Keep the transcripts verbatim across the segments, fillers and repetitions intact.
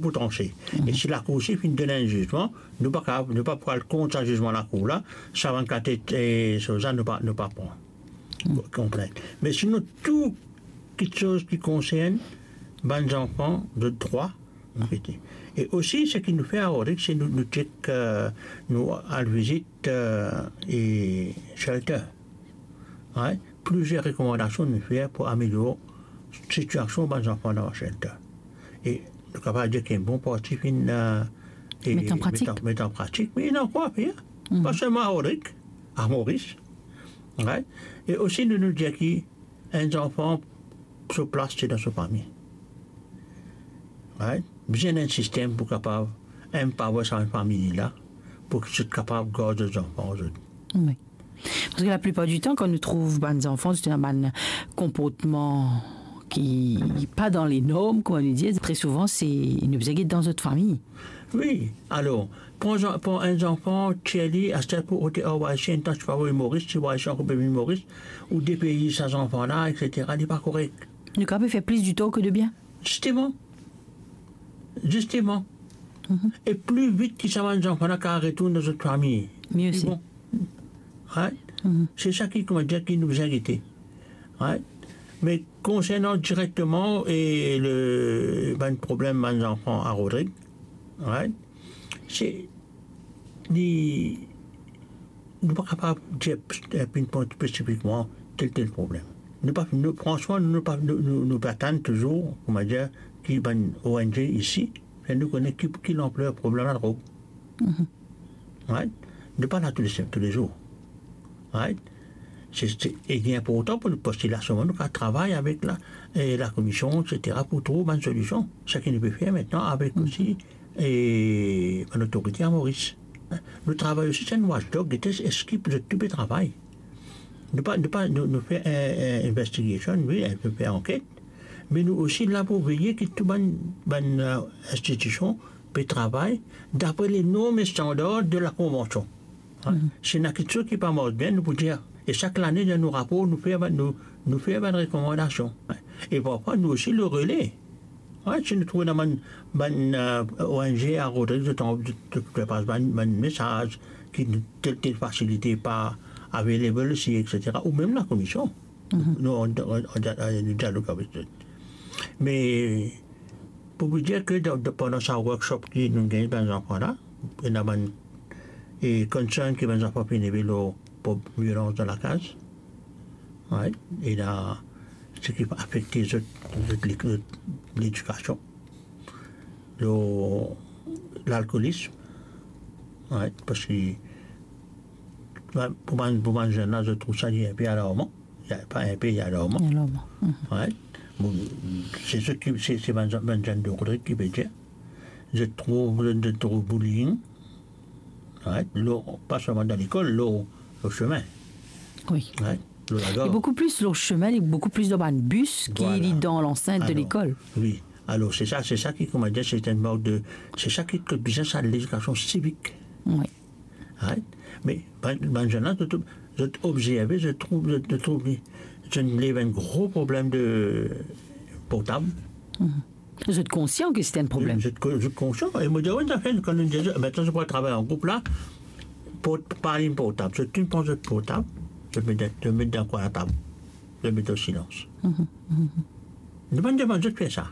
pou transe. E si lakour osi finn donn enn zizman, nou pa kapav, nou pa pou al kont sa zizman lakour la, sa bann katet, e, soz la, nou pa, nou pa pran konplint. Me sinon, tou kitsoz ki konsern bann zanfan, zot drwa, nou fete. E osi, seki nou fer a Rodrig, se nou, nou chek, e, nou al vizit, e, e shelter. Right? Plizier rekomandasion nou fer pou amelior sitiasion bann zanfan dan shelter. E nou kapav dir ki enn bon parti finn, e, e, Met an pratik. Met an, met an pratik. Me ena ankor a fer. Mhm. Pa selman a Rodrig, a Moris. Right? E osi, nou, nou dir ki enn zanfan, so plas se dan so fami. Right? Bizin enn sistem pou kapav enn pavo sa enn fami la, pou ki zot kapav gard zot zanfan, zot. Wi. Parski laplipar ditan, kan nou trouv bann zanfan, zot ena bann konportman ki pa dan lenorm, kouma nou dir, tre souvan, se, nou bizin get dan zot fami. Wi, alor, pran zan-, pran enn zanfan, tir li, aster pou ote ar Moris, enn tan ti pa avoy Moris, ti Moris ankor pe vinn Moris, ou depeyz sa zanfan la, et cetera, li pa korek. Nou kapav fer plis ditor ke debien. Zisteman. Zisteman. Mhm. E pli vit ki sa bann zanfan la kapav retourn dan zot fami, mie se osi. Bon. Right? Mhm. Se sa ki, kouma dir, ki nou bizin gete. Right? Me konsernan direkteman e le, bann problem bann zanfan a Rodrig, right? Se, li, nou pa kapav dir, e, pinpoint spesifikman tel, tel problem. Nou pa, nou, fransman, nou pa, nou, nou, nou pe atann touzour, kouma dir, ki bann O N G isi fer nou kone ki, ki lanpler problem ladrog. Mhm. Right? Nou pa la tou le, tou le zour. Right? Se, se, e li inportan pou nou, parski la, selman nou kapav travay avek la, e, lakomision, et cetera, pou trouv bann solision. Seki nou pe fer aster avek, mhm, osi, e, bann lotorite a Moris. Nou travay osi, se enn watchdog, gete eski zot tou pe travay. Nou pa, nou pa, nou, nou fer, e, e, investigation, wi, nou fer anket, me nou osi la pou veye ki tou bann, bann, e, institision pe travay dapre le norm e standar de la konvansion. Hein? Mhm. Si ena kitsoz ki pa mars bien, nou pou dir. E sak lane, dan nou rapor, nou fer bann, nou, nou fer bann rekomandasion. Hein? E parfwa, nou osi le rele. Hein? Si nou trouv ena bann, bann, e, O N G a Rodrig, zot, zot, zot pas bann, bann mesaz ki tel, tel fasilite pa available isi, et cetera. Ou mem lakomision. Mhm. Nou, nou, nou, nou dialog avek zot. Me, pou vous dire ke dan, dan, pandan sa workshop ki nou gagn bann zanfan la, ena bann, e, concern ki bann zanfan finn leve lor prob violans dan lakaz. Right? Ena seki afekte zot, zot le-, zot ledikasion. Lor lalkolism. Right? Parski, ba, pou bann, pou bann zenn la, zot trouv sa li inpe alarman. Li pa inpe, li alarman. Alarman. Mhm. Right? Bon, se sa ki, se, se bann, bann zenn de Rodrig ki pe dir. Zot trouv, zot, zot trouv bullying. Right? Lor, pa selman dan lekol, lor, lor sime. Wi. Right? Lor lagar. E boukou plis lor sime, li boukou plis dan bann bis ki, voilà, li dan lansint de lekol. Alor, wi. Alor, se sa, se sa ki, kouma dir, se enn mark de, se sa ki, ki bizin sa ledikasion sivik. Wi. Right? Me bann, bann zenn la, zot, zot obzerve, zot trouv, zot, zot trouv li, zot lev enn gro problem de portab. Mhm. Zot konsian ki se enn problem. Zot ko-, zot konsian. E mo dir, wi, zafer, kan nou dir, mintnan, zot pou al travay an group la, port-, pa alim portab. Zot tou pran zot portab, zot met, zot met dan kwin latab, zot met o silans. Mhm, mhm. Nou pa demann zot fer sa.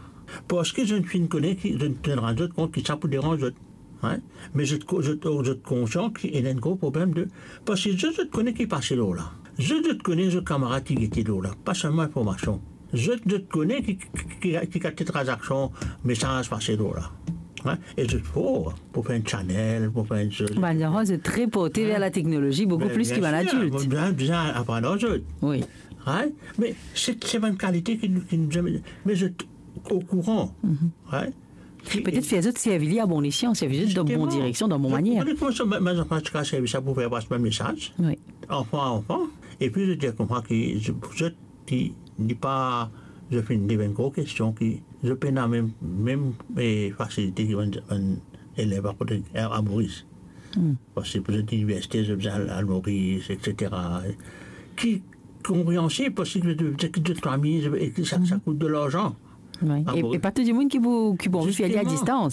Parski zot finn kone ki, zot, zot rann zot kont ki sa pou deranz zot. Hein? Me zot ko-, zot, zot konsian ki ena enn gro problem de, parski zot, zot kone ki pase lor la. Zot, zot kone zot kamarad ki gete lor la. Pa selman informasion. Zot, zot kone ki, ki, ki, ki kalite tranzaksion, mesaz pase lor la. Hein? E zot for pou fer enn channel, pou fer enn soz. Bann zanfan, zot tre porte ver lateknolozi boukou plis ki bann adilt. Bien sir, bizin, bizin aprann ar zot. Wi. Right? Me se, se bann kalite ki nou, ki nou zame, me zot okouran. Mhm. Right? Petet fer zot servi li a bon esyan, servi zot dan bon direksion, dan bon manier. Zisteman. Zot koumans, bann zanfan ti kapav servi sa pou fer pas bann mesaz. Wi. Anfan, anfan. Epi zot dir kouma ki, zot, ki li pa, zot finn lev enn gro kestion ki zot pena mem, mem, e, fasilite ki bann, bann elev a kote, a, a Moris. Hmm. Parski pou zot liniversite, zot bizin al, al Moris, et cetera. Ki konpreansib, parski zot, zot, zot fami, e ki sa, sa kout de larzan. Wi. E, e pa tou dimoun ki pou, ki pou anvi fer li a distans.